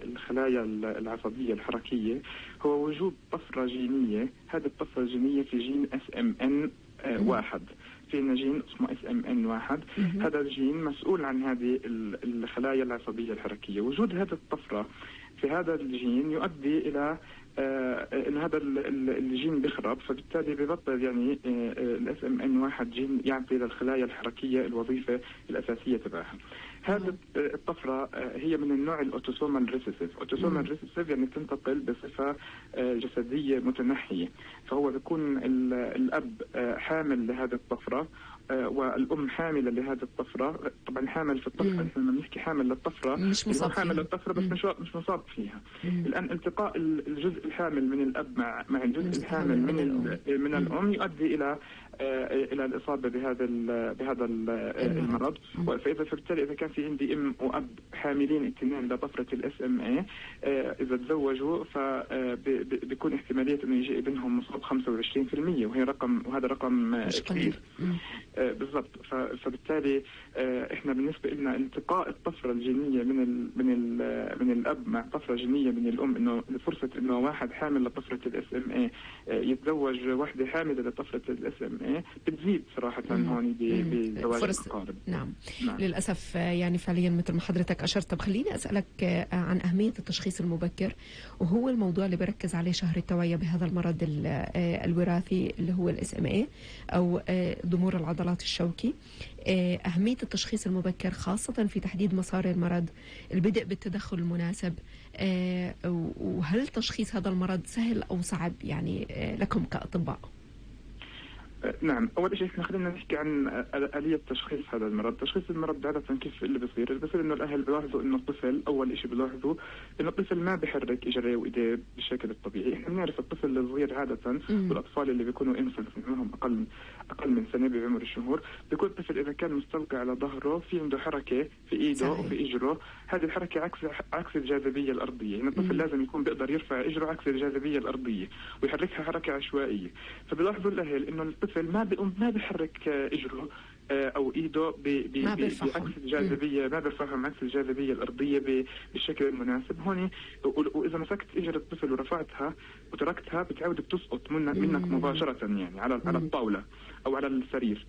الخلايا العصبية الحركية هو وجود طفرة جينية. هذه الطفرة الجينية في جين SMN1. في جين اسمه SMN1. هذا الجين مسؤول عن هذه الخلايا العصبية الحركية. وجود هذه الطفرة في هذا الجين يؤدي إلى ان هذا الجين بيخرب، فبالتالي ببطل يعني ال SMN1 جين يعطي للخلايا الحركية الوظيفة الأساسية تبعها. هذه الطفرة هي من النوع الأوتوسومال ريسيسيف. أوتوسومال ريسيسيف يعني تنتقل بصفة جسدية متنحية، فهو بيكون الأب حامل لهذه الطفرة والأم حاملة لهذه الطفرة. طبعا حامل في الطفرة، احنا لما بنحكي حامل للطفرة مش مصاب حامل للطفرة بس مش مصاب فيها. الآن التقاء الجزء الحامل من الأب مع الجزء الحامل من الأم يؤدي إلى الإصابة بهذا المرض. فبالتالي إذا كان في عندي أم وأب حاملين اثنين لطفرة الSMA، إذا تزوجوا فبيكون احتمالية إنه يجي ابنهم مصاب 25%، وهذا رقم كبير. بالضبط. فبالتالي احنا بالنسبة لنا التقاء الطفرة الجينية من الأب مع طفرة جينية من الأم، إنه فرصة إنه واحد حامل لطفرة الSMA يتزوج واحدة حاملة لطفرة الSMA بتزيد صراحة هون بزواج الأقارب. نعم. للأسف يعني فعليا مثل ما حضرتك أشرت. طب خليني أسألك عن أهمية التشخيص المبكر، وهو الموضوع اللي بركز عليه شهر التوعية بهذا المرض الوراثي اللي هو الSMA أو ضمور العضلات الشوكي. أهمية التشخيص المبكر خاصة في تحديد مسار المرض، البدء بالتدخل المناسب، وهل تشخيص هذا المرض سهل أو صعب يعني لكم كأطباء؟ نعم. أول شيء احنا خلينا نحكي عن آلية تشخيص هذا المرض. تشخيص المرض عادة كيف اللي بيصير إنه الأهل بيلاحظوا إنه الطفل، أول شيء بيلاحظوا إنه الطفل ما بيحرك إجريه وإيديه بالشكل الطبيعي. احنا بنعرف الطفل الصغير عادة والأطفال اللي بيكونوا إنفنت منهم أقل من سنة بعمر الشهور، بيكون الطفل إذا كان مستلقي على ظهره في عنده حركة في إيده وفي إجره. هذه الحركة عكس الجاذبية الأرضية. يعني الطفل لازم يكون بيقدر يرفع إجره عكس الجاذبية الأرضية ويحركها حركة عشوائية. فبيلاحظوا الأهل إنه الطفل ما بيحرك إجره أو إيده بعكس الجاذبية، ما بيرفعهم عكس الجاذبية الأرضية بالشكل المناسب. هون وإذا مسكت إجر الطفل ورفعتها وتركتها بتعود بتسقط منك مباشرة، يعني على الطاولة أو على السرير.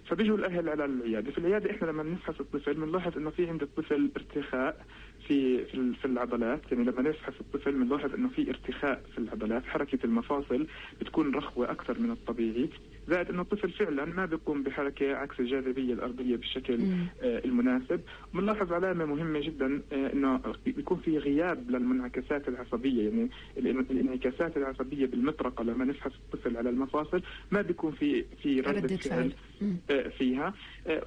فبيجوا الأهل على العيادة. في العيادة إحنا لما نفحص الطفل بنلاحظ إنه في عند الطفل ارتخاء في العضلات. يعني لما نفحص الطفل بنلاحظ إنه في ارتخاء في العضلات، حركة المفاصل بتكون رخوة أكثر من الطبيعي، زائد إنه الطفل فعلا ما بيقوم بحركة عكس الجاذبية الأرضية بالشكل المناسب. بنلاحظ علامة مهمة جدا إنه بيكون في غياب للمنعكسات العصبية. يعني الانعكاسات العصبية بالمطرقة لما نفحص الطفل على المفاصل ما بيكون في ردة فعل فيها.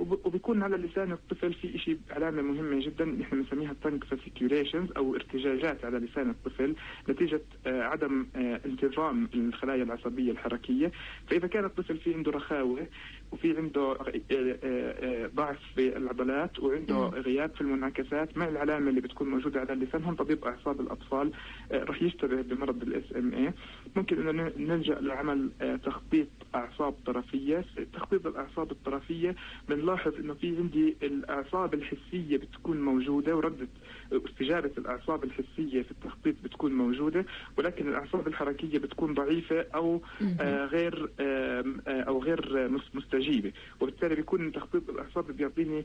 وبيكون على لسان الطفل في شيء علامة مهمة جدا نحن بنسميها تانك فاسيكيوليشنز أو ارتجاجات على لسان الطفل نتيجة عدم انتظام الخلايا العصبية الحركية. فإذا كان الطفل في عنده رخاوة وفي عنده ضعف في العضلات وعنده غياب في المنعكسات مع العلامة اللي بتكون موجودة على اللسان، هم طبيب أعصاب الأطفال رح يشتبه بمرض الSMA. ممكن أنه نلجأ لعمل تخطيط أعصاب طرفية. تخطيط الأعصاب الطرفية بنلاحظ أنه في عندي الأعصاب الحسية بتكون موجودة، وردة استجابة الأعصاب الحسية في التخطيط بتكون موجودة، ولكن الأعصاب الحركية بتكون ضعيفة أو غير مستجيبة. وبالتالي بيكون تخطيط الأعصاب بيعطيني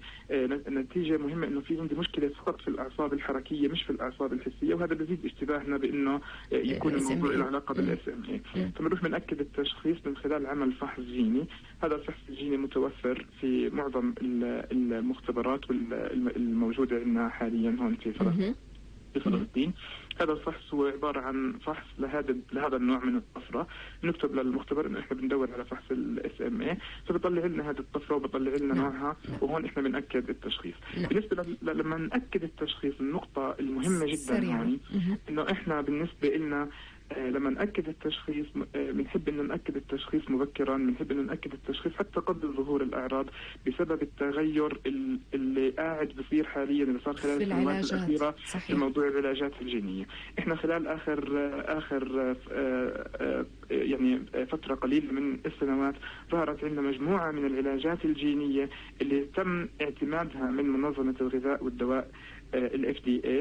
نتيجة مهمة إنه في عندي مشكلة فقط في الأعصاب الحركية مش في الأعصاب الحسية، وهذا بيزيد اشتباهنا بإنه يكون الموضوع له علاقة بالSMA. فبنروح بنأكد التشخيص من خلال عمل فحص جيني. هذا الفحص الجيني متوفر في معظم المختبرات الموجودة عندنا حاليا هون في فلسطين. هذا الفحص هو عبارة عن فحص لهذا النوع من الطفرة. نكتب للمختبر إنه إحنا بندور على فحص الSMA، فبيطلع لنا هذه الطفرة وبيطلع لنا نوعها، وهون إحنا بنأكد التشخيص. بالنسبة لما نأكد التشخيص، النقطة المهمة جدا هون إنه إحنا بالنسبة لنا لما نأكد التشخيص بنحب إنه نأكد التشخيص مبكرا، بنحب إنه نأكد التشخيص حتى قبل ظهور الأعراض بسبب التغير اللي قاعد بصير حاليا، اللي صار خلال السنوات الأخيرة في موضوع العلاجات الجينية. إحنا خلال آخر يعني فترة قليلة من السنوات ظهرت عندنا مجموعة من العلاجات الجينية اللي تم اعتمادها من منظمة الغذاء والدواء الFDA